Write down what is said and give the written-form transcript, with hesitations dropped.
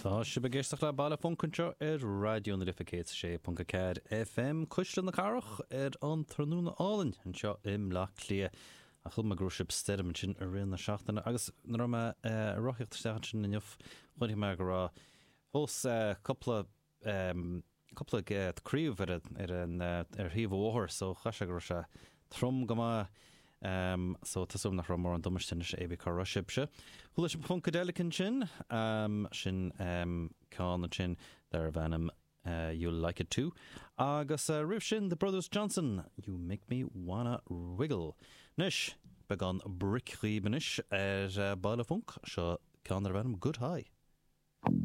Tá sibh ag éisteacht le Baile Func anseo ar Raidió na Life 106.4 FM, Cuisle na Cathrach, ar an tráthnóna álainn anseo i mBleá Cliath. Ach chuala mé go raibh sibh stoirm ansin i rith na seachtaine agus nuair a raibh mé ag rothaíocht isteach ansin inniu chonaic mé go raibh fós cúpla cúpla craobh ar ar an ar thaobh an bhóthair so chaith sé go raibh sé trom go maith so tá súil agam nach raibh mórán damáiste anois cibé cá raibh sibhse. Chuala sibh Funkadelic ansin, sin ceann ansin darbh ainm You'll Like It Too agus roimh sin The Brothers Johnson, You Make Me Wanna Wiggle. Anois, beagán bric dhaoibh anois ar Baile Func, seo ceann darbh ainm Good High.